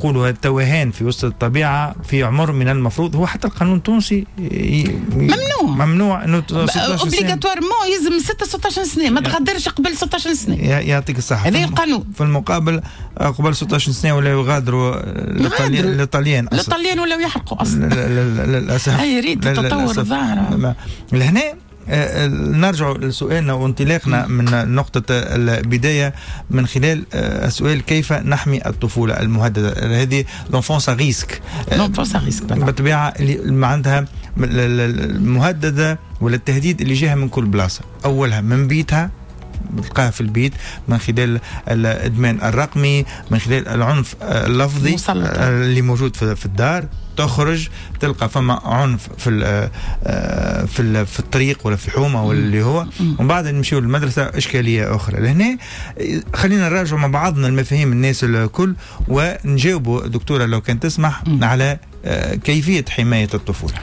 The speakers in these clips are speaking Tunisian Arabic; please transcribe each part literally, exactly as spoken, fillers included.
نقولوا التوهان في وسط الطبيعة في عمر من المفروض، هو حتى القانون التونسي ممنوع، ممنوع انه obligatoirement يلزم ستة ستاش سنه، ما تغادرش قبل ستاش سنه. يعطيك الصحه. هذا القانون. في المقابل قبل ستاش سنة ولا يغادروا للطليان اصلا، للطليان ولا يحرقوا اصلا للاسف. اي ريت التطور الظاهر. لهنا نرجع لسؤالنا وانطلاقنا من نقطة البداية من خلال السؤال: كيف نحمي الطفولة المهددة؟ هذه l'enfance à risque. l'enfance à risque. بالطبيعة اللي عندها المهددة ولا التهديد اللي جاها من كل بلاصة، أولها من بيتها، تلقاها في البيت من خلال الادمان الرقمي، من خلال العنف اللفظي اللي موجود في الدار، تخرج تلقى فما عنف في في في الطريق ولا في الحومه ولا اللي هو، ومن بعد نمشيو للمدرسه، اشكالية اخرى. لهنا خلينا نراجعوا مع بعضنا المفاهيم الناس الكل ونجاوبوا دكتورة لو كان تسمح على كيفية حماية الطفوله.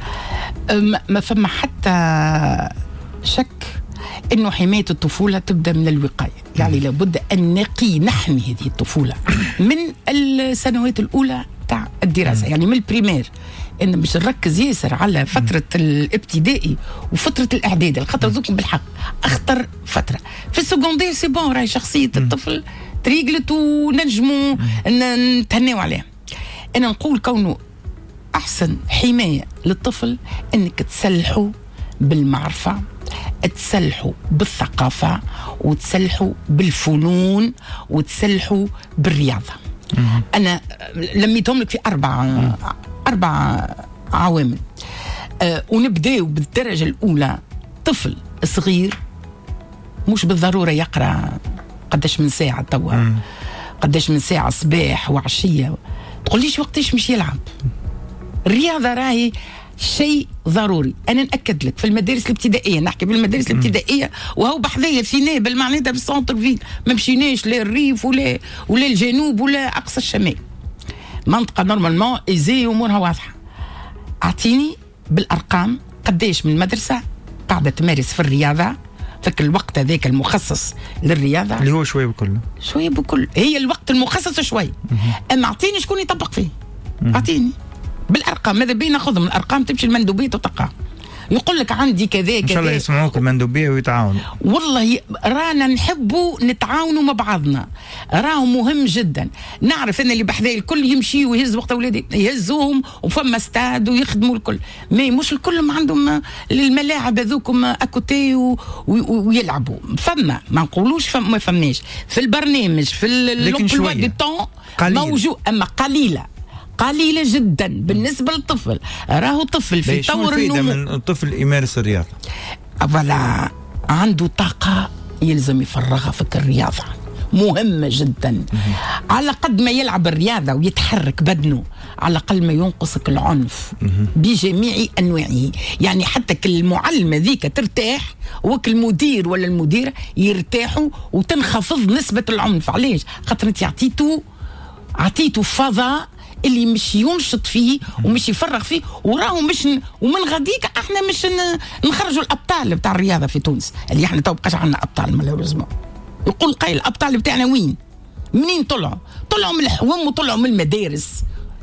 ما فما حتى شك انه حماية الطفولة تبدا من الوقايه، يعني لابد ان نقي نحمي هذه الطفولة من السنوات الاولى تاع الدراسه، يعني من ال primaire. ان باش نركز ياسر على فترة الابتدائي وفترة الاعدادي، الخاطر ذوك بالحق اخطر فتره. في ال secondaire c'est bon، راهي شخصية الطفل تريقلت ونجموا نتهناو عليها. انا نقول كونه احسن حماية للطفل انك تسلحه بالمعرفه، تسلحوا بالثقافة، وتسلحوا بالفنون، وتسلحوا بالرياضة. أنا لميتهم لك في أربع أربع عوامل. أه ونبداو بالدرجة الأولى. طفل صغير مش بالضرورة يقرأ قداش من ساعة توا، قداش من ساعة صباح وعشية، تقوليش وقتاش مش يلعب. الرياضة راهي شيء ضروري. انا ناكد لك في المدارس الابتدائيه، نحكي في المدارس الابتدائيه، وهو بحذايا في نابل معناتها في ال centre-ville، ما مشيناش لا الريف ولا ولا الجنوب ولا اقصى الشمال، منطقة normalement aisée، امورها واضحه. اعطيني بالارقام قداش من مدرسه قاعدة تمارس في الرياضة فك الوقت هذاك المخصص للرياضه؟ اللي هو شوية بكل. شوية بكل، هي الوقت المخصص شوي، اما اعطيني شكون يطبق فيه، اعطيني بالارقام. ماذا بينا ناخذهم الارقام، تمشي المندوبيه وتلقاه يقول لك عندي كذا كذا. ان شاء الله يسمعوك المندوبيه ويتعاونوا. والله رانا نحبوا نتعاونوا مع بعضنا، راهو مهم جدا. نعرف ان اللي بحذاي الكل يمشي ويهز وقت اولادي يهزوهم وفما ستاد ويخدموا الكل، mais مش الكل ما عندهم الملاعب هذوكم à côté و... ويلعبوا. فما ما نقولوش فما ما فماش في البرنامج في l'emploi du temps موجود، اما قليله قليله جدا بالنسبة للطفل. راهو طفل في طور النمو. من الطفل يمارس الرياضه؟ voilà، عنده طاقة يلزم يفرغها في الرياضه، مهمة جدا. على قد ما يلعب الرياضة ويتحرك بدنه على الاقل ما ينقصك العنف بجميع انواعه. يعني حتى كل المعلمة ذيك ترتاح وكل المدير ولا المديرة يرتاحوا وتنخفض نسبه العنف. علاش؟ خاطر انت عطيته عطيته فضاء اللي مش ينشط فيه ومش يفرغ فيه، وراهو مش ن... ومن غاديك احنا مش ن... نخرجوا الابطال بتاع الرياضة في تونس، اللي احنا تو بقاش عندنا ابطال malheureusement. يقول قايل الابطال بتاعنا وين؟ منين طلعوا؟ طلعوا من الحوم وطلعوا من المدارس.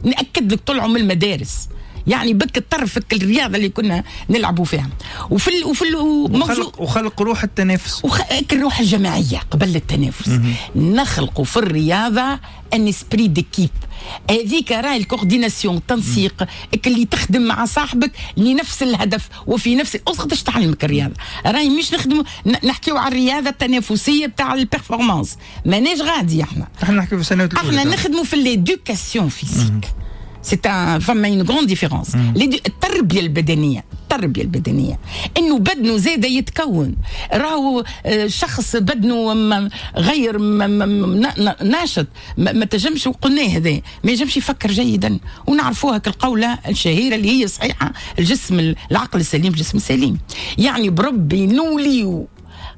ناكد لك طلعوا من المدارس، يعني بك الطرف الرياضة اللي كنا نلعبوا فيها. وفي ال وفي ال وخلق, وخلق روح التنافس، وخ... الروح الجماعية قبل التنافس. نخلقوا في الرياضة un esprit d'équipe، هذيك راهي ال coordination، التنسيق اللي تخدم مع صاحبك لنفس الهدف وفي نفس قداش تعلمك الرياضة. راهي مش نخدم نحكيو على الرياضة التنافسية بتاع ال performance، ماناش غادي احنا. احنا نحكيو في السنوات الاولى، احنا نخدموا في l'éducation physique. c'est un فما une grande différence. التربية البدنيه، التربية البدنية انه بدنه زاد يتكون. راهو شخص بدنه غير ناشط ما تنجمش، وقلناه هذا، ما ينجمش يفكر جيدا، ونعرفوها كالقوله الشهيرة اللي هي صحيحه: الجسم العقل السليم الجسم السليم. يعني بربي نوليو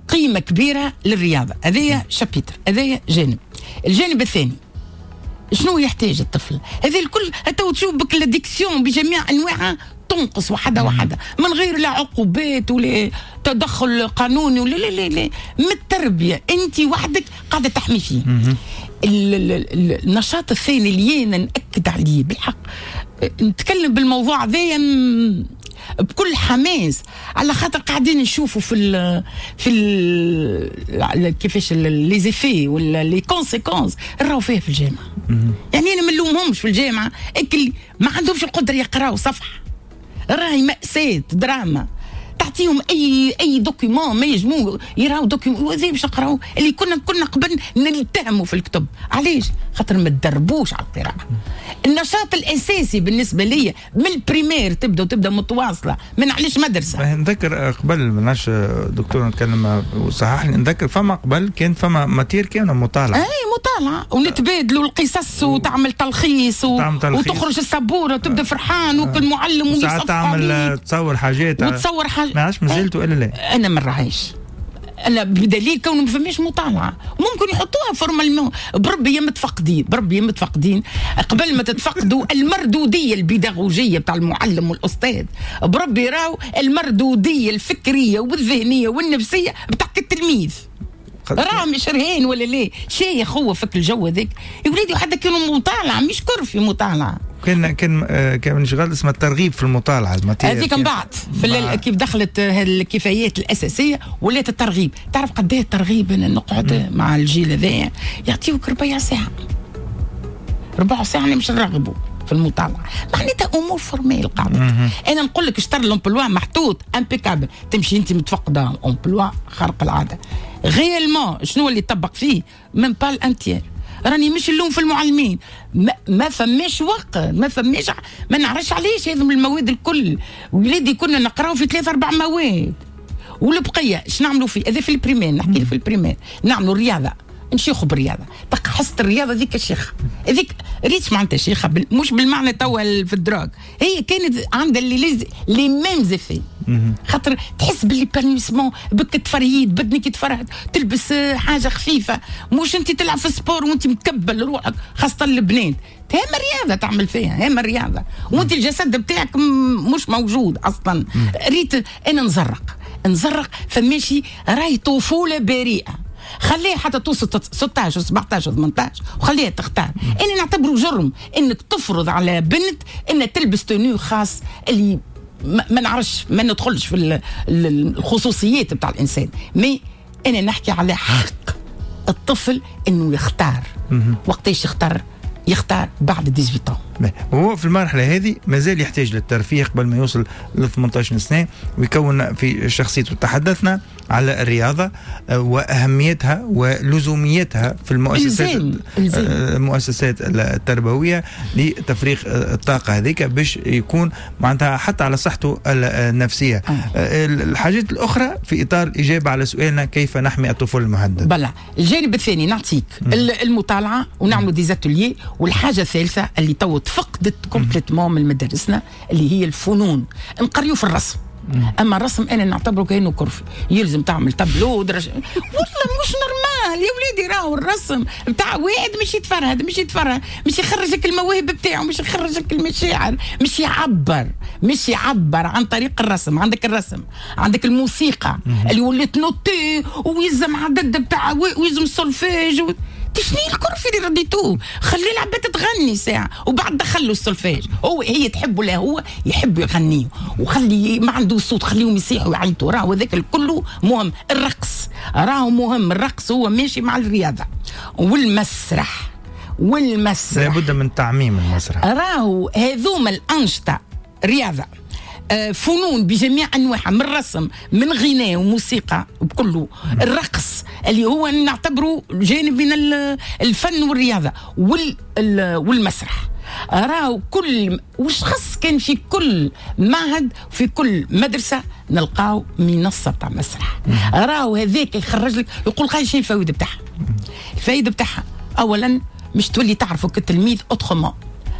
قيمة كبيرة للرياضه. هذايا chapitre، هذايا جانب. الجانب الثاني شنو يحتاج الطفل؟ هذه الكل تو تشوف بك l'addiction بجميع انواعها. تنقص وحده وحده من غير لا عقوبات ولا تدخل قانوني ولا لا لا لا، من التربية انت وحدك قاعدة تحمي فيه. النشاط الثاني اللي انا ناكد عليه بالحق، نتكلم بالموضوع هذايا بكل حماس، على خاطر قاعدين نشوفوا في ال في ال كيفاش les effets ولا les conséquences راهو فيها في الجامعة. يعني انا ما نلومهمش في الجامعة، اكل ما عندهمش القدرة يقراوا صفحة، راهي مأساة دراما. تعطيهم اي اي document ما يجمو يراو document وهذا باش نقراو اللي كنا كنا قبل نلتهموا في الكتب. علاش؟ خاطر ما تدربوش على القراءة. النشاط الاساسي بالنسبة لي من ال primaire تبدا وتبدا متواصلة من علاش مدرسه. نذكر قبل ما دكتور نتكلم وصحح لي، نذكر فما قبل كان فما matière كان مطالعه. اي مطالعه ونتبادلوا القصص وتعمل تلخيص, و... تعمل تلخيص. وتخرج السبوره وتبدا فرحان وكل معلم وساعات تعمل تصور حاجات وتصور حاجات. ما عادش مازلت ولا لا؟ انا ما نراهيش، انا بدليل كونه ما فماش مطالعه. ممكن يحطوها formellement بربي يا متفقدين، بربي يا متفقدين قبل ما تتفقدوا المردوديه البيداغوجيه بتاع المعلم والاستاذ، بربي راهو المردوديه الفكرية والذهنية والنفسية بتاعت التلميذ. راه مش رهان ولا ليه شيخ هو فك الجو هذاك يا وليدي. حتى كانوا مطالعه مش كرفي مطالعه. كان كان كان شغال اسمه الترغيب في المطالعة هذيك من بعد في كيف دخلت الكفايات الاساسية ولات الترغيب. تعرف قد ايه الترغيب؟ انا نقعد مع الجيل هذايا يعطيوك ربع ساعة ربع ساعة مش نرغبوا في المطالعة، معناتها امور formelles قاعدة. انا نقول لك شطر l'emploi محطوط impeccable، تمشي انت متفقده emploi خارق العادة. réellement شنو اللي طبق فيه؟ même pas un tiers. راني مش اللوم في المعلمين، ما, ما فماش وقت، ما فماش، ما نعرفش علاش هذم المواد الكل. ولادي كنا نقراو في ثلاث اربع مواد والبقية اش نعملوا فيه؟ هذا في ال primaire، نحكي في ال primaire نعملوا الرياضة، نشيخوا بالرياضة، تلقى حصة الرياضة ذيك الشيخه هذيك ريتش معناتها شيخه بال... مش بالمعنى توا في ال drogue، هي كانت عندها les les mêmes effets، خاطر تحس بال l'épanouissement بك تفرهيد بدنك يتفرهد، تلبس حاجة خفيفة، مش انت تلعب في ال sport وانت مكبل روحك، خاصة البنات هم الرياضة تعمل فيها، هم الرياضة وانت الجسد بتاعك مش موجود اصلا. ريت انا نزرق نزرق فماشي راهي طفولة بريئة، خليها حتى توصل ستاش وسبعتاش وثمنتاش وخليها تختار. انا نعتبره جرم انك تفرض على بنت انها تلبس tenue خاص اللي ما نعرفش، ما ندخلش في الخصوصيات بتاع الانسان، mais انا نحكي على حق الطفل انه يختار. وقتاش يختار؟ يختار بعد ثمنتاش. وهو في المرحلة هذه مازال يحتاج للترفيه قبل ما يوصل ل ثمنتاش سنة ويكون في شخصيته. تحدثنا على الرياضة وأهميتها ولزوميتها في المؤسسات الزام. الزام. المؤسسات التربوية لتفريغ الطاقة هذيك باش يكون معناتها حتى على صحته النفسية. آه. الحاجات الأخرى في إطار الإجابة على سؤالنا كيف نحمي الطفل المهدد. بلا الجانب الثاني نعطيك المطالعة ونعملوا des ateliers. والحاجة الثالثة اللي تو تفقدت complètement من مدارسنا اللي هي الفنون، نقريو في الرسم. اما الرسم انا نعتبره كانه corvée، يلزم تعمل تابلو درج... والله مش normal يا وليدي. راهو الرسم بتاع واحد مش يتفرهد، مش يتفرهد، مش يخرجك المواهب بتاعه، مش يخرجك المشاعر، مش يعبر، مش يعبر عن طريق الرسم. عندك الرسم، عندك الموسيقى اللي ولات notée ويلزم عدد بتاع ويلزم السولفيج و... تشني ال corvée اللي رديتوه، خلي العباد تغني ساعة وبعد دخلوا السولفيج، هو هي تحب ولا هو يحب يغنيه، وخلي ما عنده صوت خليهم يصيحوا ويعيطوا، راهو هذاك الكل مهم. الرقص راهو مهم، الرقص هو ماشي مع الرياضة والمسرح. والمسرح لابد من تعميم المسرح، راهو هذوما الأنشطة رياضة فنون بجميع انواعها، من رسم من غناء وموسيقى بكله، الرقص اللي هو نعتبره جانب من الفن والرياضة والمسرح. راهو كل وش خص كان في كل معهد في كل مدرسه نلقاو منصة بتاع مسرح. راهو هذاك يخرج لك يقول خاي شنو الفوائد بتاعها. الفائدة بتاعها اولا مش تولي تعرفه كتلميذ autrement،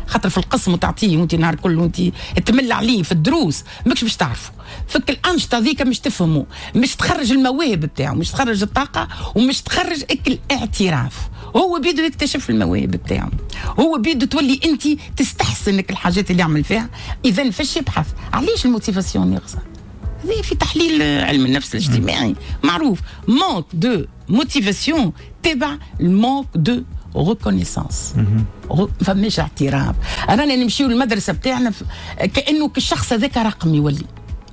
خاطر في القسم وتعطيه وانت نهار كل وانت تمل عليه في الدروس ماكش باش تعرفه. فك الانشطة ذيك مش تفهمه، مش تخرج المواهب بتاعه، مش تخرج الطاقة، ومش تخرج اكل الاعتراف. هو بيدو يكتشف المواهب بتاعه، هو بيدو تولي انت تستحسنك الحاجات اللي يعمل فيها. اذا فاش يبحث؟ علاش ال motivation ناقصه؟ هذه في تحليل علم النفس الاجتماعي معروف، manque de motivation تبع ال manque de reconnaissance، فماش اعتراف. رانا نمشيو للمدرسة بتاعنا كانه الشخص هذاك رقم، يولي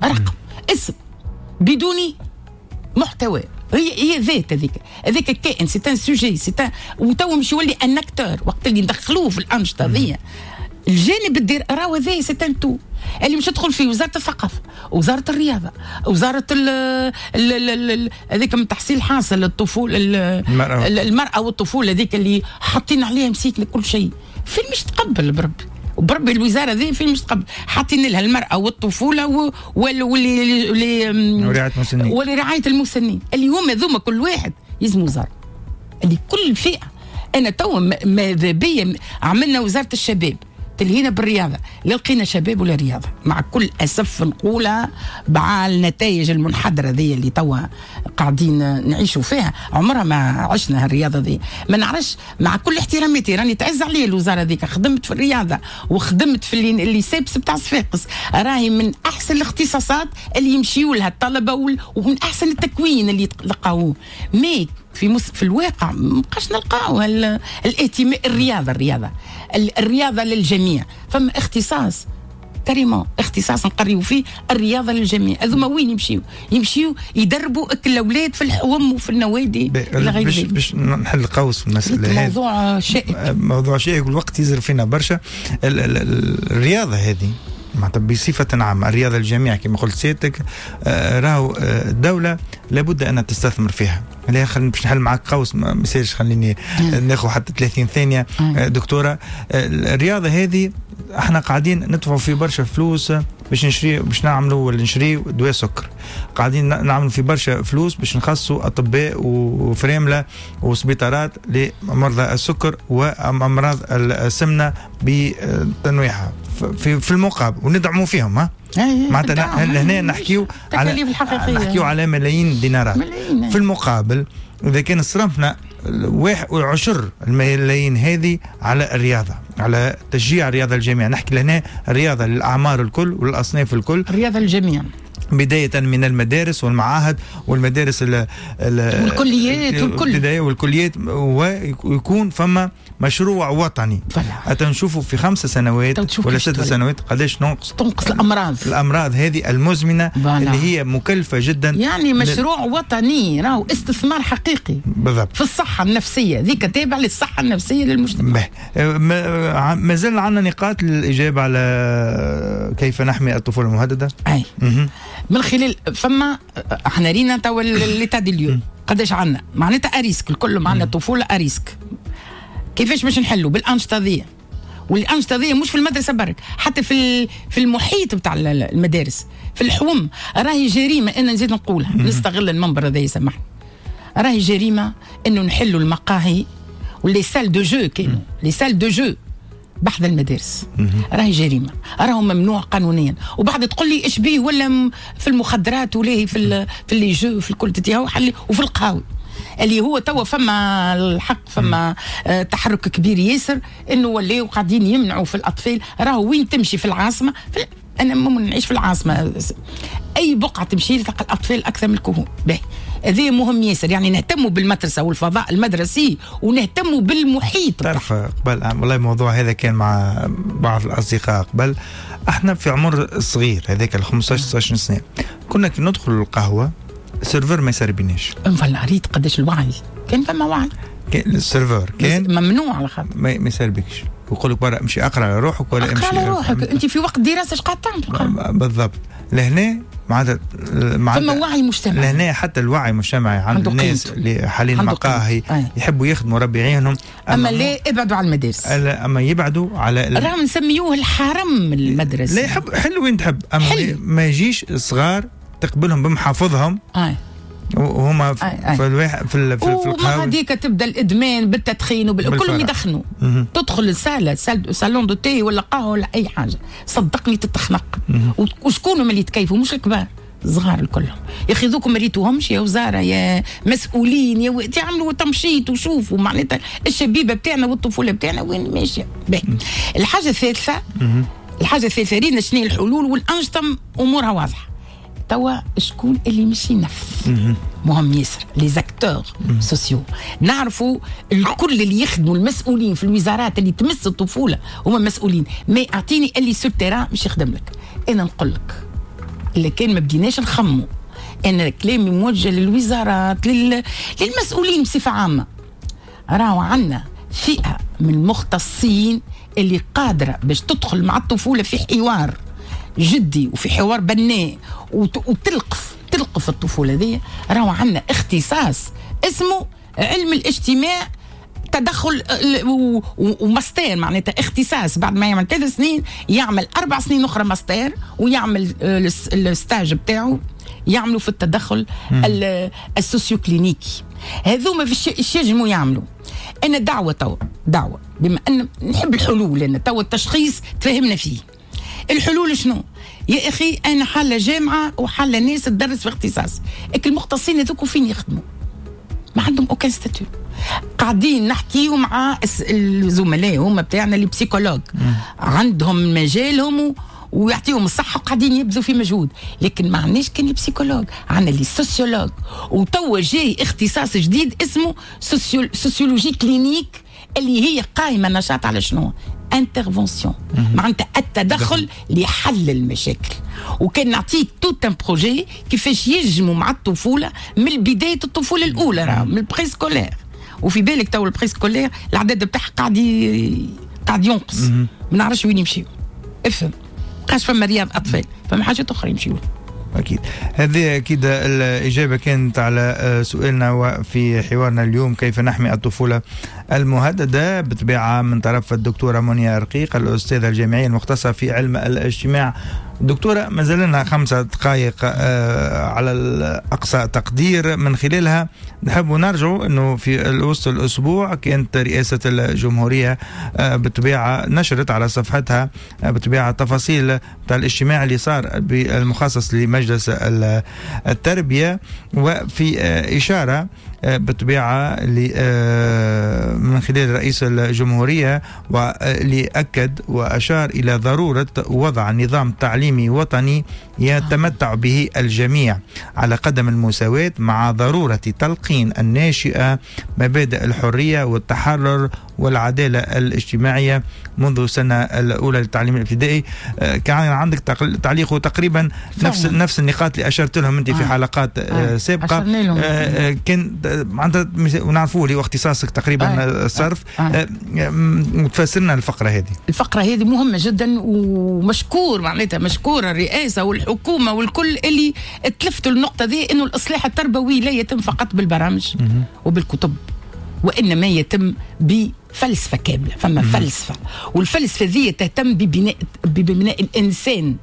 رقم اسم بدون محتوى. هي هي ذات هذيك هذاك الكائن، c'est un sujet، c'est un وتو مش يولي un acteur. وقت اللي ندخلوه في الانشطة ذي الجانب الدير راهو هذا c'est un tout اللي مش تدخل فيه وزارة الثقافة، وزارة الرياضة، وزارة ال هذيك من تحصيل حاصل الطفولة، المراة, المرأة والطفوله هذيك اللي حاطين عليها مسيك كل شيء. فين مش تقبل بربي وبربي الوزارة ذي فين مش تقبل؟ حاطين لها المراة والطفوله واللي ورعاية المسنين، ولرعايه المسنين اللي هما ذوما كل واحد يلزم وزارة اللي كل فئة. انا تو ماذا بيا عملنا وزارة الشباب تلهينا بالرياضة، لا لقينا شباب ولا رياضة مع كل اسف نقولها، مع النتائج المنحدره ذي اللي توا قاعدين نعيشوا فيها، عمرها ما عشنا هالرياضه ذي. ما نعرفش، مع كل احتراماتي راني تعز عليا الوزارة ذيك، خدمت في الرياضة وخدمت في اللي INSEPS بتاع صفاقس، راهي من احسن الاختصاصات اللي يمشيوا لها الطلبة ومن احسن التكوين اللي تلقاوه. mais في مس... في الواقع ما بقاش نلقاو الاهتمام. الرياضة الرياضة الرياضة للجميع، فما اختصاص carrément اختصاص نقريو فيه الرياضة للجميع. هذوما وين يمشيو؟ يمشيو يدربوا الاولاد في الحوم وفي النوادي الى غير ذلك. باش نحل قوس في المسالة هذه، موضوع شائك، موضوع شائك والوقت يزر فينا برشا. الرياضة هذه معناتها بصفة عامة الرياضة للجميع كما قلت سيادتك، راهو الدولة لابد أن تستثمر فيها. لا خليني باش نحل معك قوس، ما يصيرش، خليني ناخذ حتى ثلاثين ثانية دكتورة. الرياضة هذه احنا قاعدين ندفعوا في برشا فلوس باش نشري، باش نعملوا ولا نشري دواء سكر، قاعدين نعملوا في برشا فلوس باش نخصوا اطباء وفريمله وسبيطارات لمرضى السكر وامراض السمنة بتنويعها في في المقابل، وندعموا فيهم. ها معناتها هنا نحكيو على نحكيو على ملايين الدينارات. في المقابل اذا كان صرفنا واحد وعشر الملايين هذه على الرياضة، على تشجيع الرياضة للجميع، نحكي لهنا الرياضة للأعمار الكل والأصناف الكل، الرياضة للجميع بداية من المدارس والمعاهد والمدارس ال ال والكليات والكل والكليات، ويكون فما مشروع وطني. حتى نشوفوا في خمس سنوات ولا ست سنوات قداش ننقص تنقص الأمراض، الأمراض هذه المزمنة فلا. اللي هي مكلفة جدا. يعني مشروع ل... وطني، راهو استثمار حقيقي بالضبط في الصحة النفسية، ذيك تابع للصحة النفسية للمجتمع. ما زال عندنا نقاط للإجابة على كيف نحمي الطفولة المهددة. أي مه. من خلال فما احنا رينا توا l'état des lieux قداش عندنا، معناتها à risque الكل، معنا طفولة à risque. كيفاش باش نحلوا؟ بالانشطه ذي، والانشطه ذي مش في المدرسة برك، حتى في في المحيط بتاع المدارس، في الحوم. راهي جريمة، انا نزيد نقولها، نستغل المنبر هذا يسامحني، راهي جريمة انه نحلوا المقاهي و les salles de jeux، كانوا les salles de jeux بحذا المدارس، راهي جريمة، راهو ممنوع قانونيا. وبعد تقول لي ايش بيه ولا في المخدرات ولا في في les jeux في الكل تتيهو وفي القهاوي اللي هو توا فما الحق فما آه تحرك كبير ياسر انه ولاو قاعدين يمنعوا في الاطفال. راهو وين تمشي في العاصمة، في انا ممكن نعيش في العاصمة، اي بقعة تمشي تلقى الاطفال اكثر من الكهول. باهي هذا مهم ياسر، يعني نهتموا بالمدرسة والفضاء المدرسي ونهتموا بالمحيط. تعرف قبل والله الموضوع هذا كان مع بعض الاصدقاء قبل، احنا في عمر صغير هذاك ال خمسطاش ستطاش سنة كنا كي ندخل القهوة ال serveur ما يسربيناش. voilà ريت قداش الوعي كان، فما وعي، كان ال serveur كان ممنوع على خاطر ما يسربكش، ويقول لك برا امشي اقرا على روحك ولا امشي اقرا على روحك، انت في وقت دراسة اش قاعد تعمل بالضبط. لهنا معناتها فما وعي مجتمعي، لهنا حتى الوعي المجتمعي عند الناس اللي حاليا المقاهي يحبوا يخدموا ربي يعينهم، اما, أما لا ابعدوا على المدارس، اما يبعدوا على راهم نسميوه الحرم المدرسي. لا يحب حلو وين تحب، اما حلو. ما يجيش صغار تقبلهم بمحافظهم. آه. وهما في الواحد في في, في القهوة هذيك تبدا الادمان بالتدخين وبال... كلهم يدخنوا. تدخل الساله salon de thé ولا قهوة ولا اي حاجة، صدقني تتخنق. وشكون اللي يتكيفوا؟ مش الكبار، صغار الكلهم. يا اخي ذوكم ما ريتوهمش يا وزارة يا مسؤولين يا و... تعملوا تمشيط وشوفوا معناتها الشبيبة بتاعنا والطفوله بتاعنا وين ماشية. الحاجة الثالثة، الحاجة الثالثة رينا شنو الحلول والانشطه امورها واضحة. توا شكون اللي مش ينفذ؟ مهم ياسر les acteurs sociaux، نعرفوا الكل اللي يخدموا المسؤولين في الوزارات اللي تمس الطفولة هما مسؤولين، mais اعطيني اللي sur terrain مش يخدم لك. انا نقول لك اللي كان ما بديناش نخمو، انا كلامي موجه للوزارات لل... للمسؤولين بصفة عامة، راهو عندنا فئة من المختصين اللي قادرة باش تدخل مع الطفولة في حوار جدي وفي حوار بناء وتلقف تلقف الطفولة ذي. راهو عندنا اختصاص اسمه علم الاجتماع تدخل وماستير، معناتها اختصاص بعد ما يعمل ثلاث سنين يعمل اربع سنين اخرى ماستير ويعمل ال stage بتاعه يعملوا في التدخل ال socio-clinique. هذوما في الشيء يجموا يعملوا. انا دعوه توا، دعوه بما ان نحب الحلول، لان توا التشخيص تفهمنا فيه. الحلول شنو؟ يا اخي انا حاله جامعه وحاله ناس تدرس في اختصاص، المختصين هذوك فين يخدموا؟ ما عندهم aucun statut. قاعدين نحكيو مع الزملاء هما بتاعنا les psychologues، عندهم مجالهم ويعطيهم الصحة وقاعدين يبذلوا في مجهود، لكن ما عندناش كان les psychologues، عندنا les sociologues. وتوا جاي اختصاص جديد اسمه sociologie clinique اللي هي قائمة نشاط على شنو؟ intervention، معناتها التدخل لحل المشاكل. وكان نعطيك tout un projet كيفاش يجموا مع الطفولة من بداية الطفولة الاولى، راه من ال préscolaire. وفي بالك تو ال préscolaire العدد بتاعها قاعد قاعد ينقص، ما نعرفش وين يمشيو. افهم بقاش فما رياض اطفال، فما حاجات اخرى يمشيو. أكيد هذه أكيد الإجابة كانت على سؤالنا وفي حوارنا اليوم كيف نحمي الطفولة المهددة، بطبيعة من طرف الدكتورة منيا رقيق الأستاذة الجامعية المختصة في علم الاجتماع. دكتورة ما زال لنا خمسة دقائق على الأقصى تقدير، من خلالها نحب نرجع أنه في وسط الأسبوع كانت رئاسة الجمهورية بطبيعة نشرت على صفحتها بطبيعة تفاصيل بتاع الاجتماع اللي صار بالمخصص لمجلس التربية، وفي إشارة بطبيعة من خلال رئيس الجمهورية واللي أكد وأشار إلى ضرورة وضع نظام تعليمي وطني يتمتع به الجميع على قدم المساواة، مع ضرورة تلقين الناشئة مبادئ الحرية والتحرر والعدالة الاجتماعية منذ السنة الأولى للتعليم الابتدائي. كان عندك تعليق تقريبا نفس نفس النقاط اللي أشرت لهم أنت في حلقات آه. سابقة. آه. كان عندها ونعرفوه اللي هو اختصاصك تقريبا آه. الصرف. آه. وتفسرنا الفقرة هذه. الفقرة هذه مهمة جدا ومشكور معناتها مشكورة الرئاسة والحكومة والكل اللي تلفتوا النقطة دي، إنه الإصلاح التربوي لا يتم فقط بالبرامج وبالكتب، وإنما يتم بفلسفة كاملة. فما فلسفة، والفلسفة ذي تهتم ببناء ببناء الإنسان،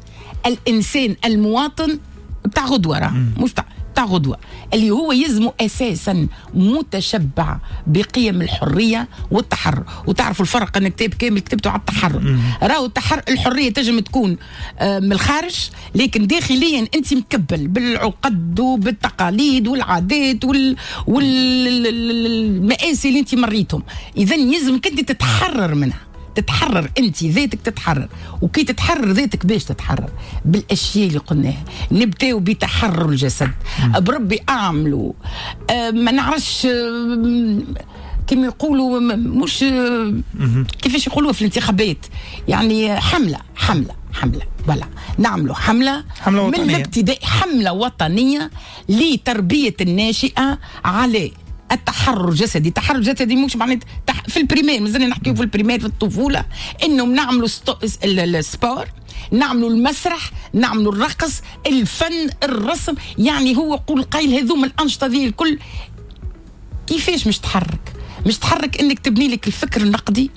الإنسان المواطن بتاع غدوة، راه مش بتاع بتاع غدوة، اللي هو يزمو أساسا متشبع بقيم الحرية والتحرر. وتعرفوا الفرق، أن كتاب كامل كتبته على التحرر. راهو التحرر الحرية تنجم تكون من الخارج، لكن داخليا أنت مكبل بالعقد وبالتقاليد والعادات وال... والمآسي اللي أنت مريتهم. إذن يلزمك أنت تتحرر منها، تتحرر انت ذاتك، تتحرر. وكي تتحرر ذاتك باش تتحرر بالاشياء اللي قلناها. نبداو بتحرر الجسد، بربي اعملوا أه ما نعرفش أه كما يقولوا مش أه كيفاش يقولوا في الانتخابات، يعني حمله حمله حمله ولا نعملوا حمله, حملة من الابتدائي، حمله وطنية لتربية الناشئة على التحرر الجسدي. التحرر الجسدي مش معناتها تح... في ال primaire، مازلنا نحكيو في ال primaire في الطفولة، انه نعملوا ستو... ال sport، نعملوا المسرح، نعملوا الرقص، الفن، الرسم. يعني هو قول قايل هذوما الانشطة ذي الكل كيفاش مش تحرك؟ مش تحرك انك تبني لك الفكر النقدي،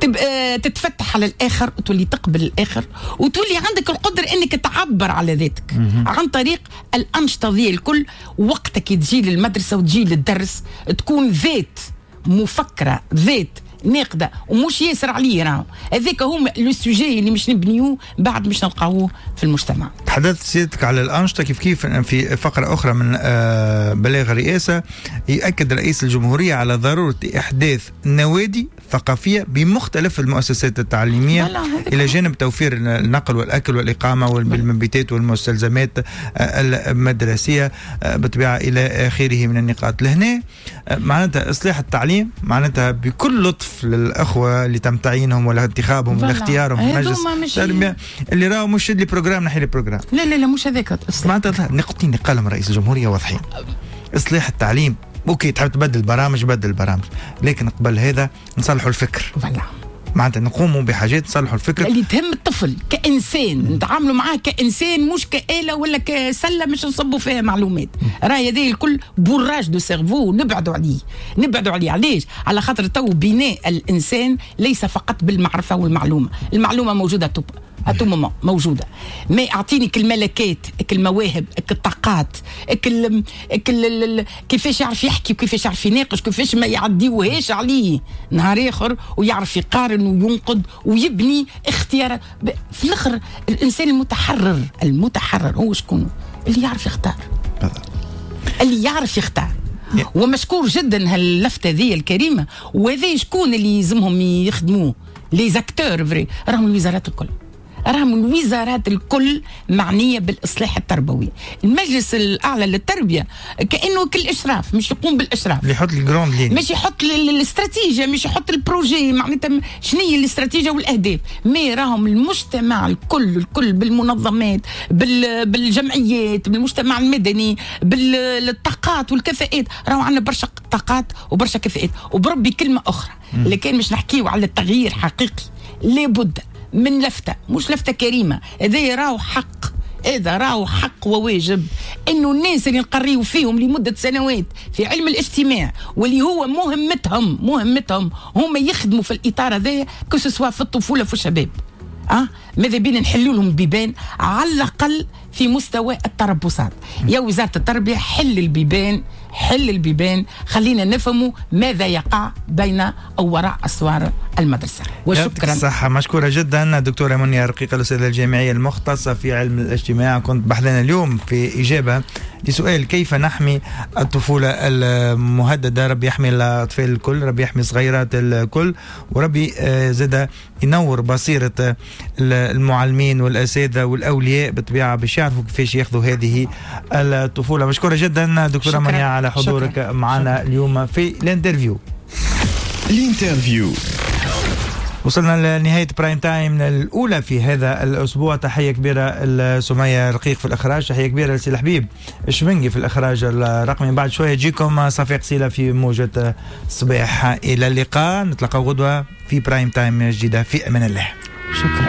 تبقى تتفتح على الاخر وتولي تقبل الاخر، وتولي عندك القدرة انك تعبر على ذاتك عن طريق الانشطة ذي الكل. وقتك تجي للمدرسة وتجي للدرس تكون ذات مفكره، ذات ناقده، ومش ياسر عليه. راهو هذاك هو le sujet اللي مش نبنيوه بعد مش نلقاوه في المجتمع. تحدثت سيادتك على الأنشطة، كيف كيف في فقرة أخرى من آه، بلاغ الرئاسة يؤكد رئيس الجمهورية على ضرورة إحداث نوادي ثقافية بمختلف المؤسسات التعليمية، إلى جانب توفير النقل والأكل والإقامة والمبيتات والمستلزمات آه، المدرسية آه، بالطبيعة إلى آخره من النقاط. لهنا معناتها إصلاح التعليم معناتها بكل لطف للأخوة اللي تم تعيينهم ولا انتخابهم ولا اختيارهم في مجلس التربية، اللي راهو مش les programmes نحي les programmes. لا لا لا، مش هذاك. معناتها نقطتين اللي قالهم رئيس الجمهورية واضحين. إصلاح التعليم، OK، تحب تبدل برامج بدل برامج، لكن قبل هذا نصلحوا الفكر. voilà. معناتها نقوموا بحاجات نصلحوا الفكر اللي تهم الطفل كإنسان، نتعاملوا معاه كإنسان مش كآلة ولا كسلة مش نصبوا فيها معلومات. راهي هذه الكل bourrage de cerveau، نبعدوا عليه، نبعدوا عليه. علاش؟ على خاطر تو بناء الإنسان ليس فقط بالمعرفة والمعلومة، المعلومة موجودة tout à tout moment موجوده، mais اعطيني كل الملكات، كل المواهب، كل الطاقات، كل كل كيفاش يعرف يحكي وكيفاش يعرف يناقش، كيفاش ما يعديوهاش عليه نهار اخر، ويعرف يقارن وينقد ويبني اختيار. في الاخر الانسان المتحرر، المتحرر هو شكون؟ اللي يعرف يختار، اللي يعرف يختار. ومشكور جدا هاللفته ذي الكريمه. وهذا شكون اللي يلزمهم يخدموه؟ les acteurs vrais راهم الوزارات الكل، راهم الوزارات الكل معنية بالاصلاح التربوي. المجلس الاعلى للتربية كانه كل اشراف، مش يقوم بالاشراف، اللي يحط les grandes lignes، مش يحط الاستراتيجية، مش يحط ال projet، معناتها شنو هي الاستراتيجية والاهداف. mais راهم المجتمع الكل الكل بالمنظمات، بالجمعيات، بالمجتمع المدني، بالطاقات والكفاءات. راهو عندنا برشا طاقات وبرشا كفاءات. وبربي كلمة اخرى، لكن مش نحكيو على التغيير حقيقي لابد من لفتة، مش لفتة كريمة، هذا راهو حق، هذا راهو حق وواجب انه الناس اللي نقريو فيهم لمدة سنوات في علم الاجتماع واللي هو مهمتهم، مهمتهم هم يخدموا في الاطار هذايا، que ce soit في الطفولة في الشباب، أه؟ ماذا بينا نحلوا لهم بيبان على الاقل في مستوى التربصات. يا وزارة التربية حل البيبان، حل البيبان، خلينا نفهموا ماذا يقع بين او وراء اسوار المدرسة. وشكرا. صح، مشكورة جدا دكتورة منيا رقيقه، الاستاذة الجامعية المختصة في علم الاجتماع. كنت بحذانا اليوم في اجابه لسؤال كيف نحمي الطفولة المهدده. ربي يحمي الاطفال الكل، ربي يحمي صغيرات الكل، وربي زاد ينور بصيرة المعلمين والاساتذه والاولياء بالطبيعة باش يعرفوا كيفاش ياخذوا هذه الطفولة. مشكورة جدا دكتورة منيا على حضورك معنا اليوم في l'interview. l'interview. وصلنا لنهاية prime time الأولى في هذا الأسبوع. تحية كبيرة لسمية رقيق في الإخراج، تحية كبيرة لسي الحبيب الشمنجي في الإخراج الرقمي. بعد شوية يجيكم صفيق سيلة في موجة صباح. إلى اللقاء، نتلقى غدوة في prime time جديدة. في أمان الله. شكرا.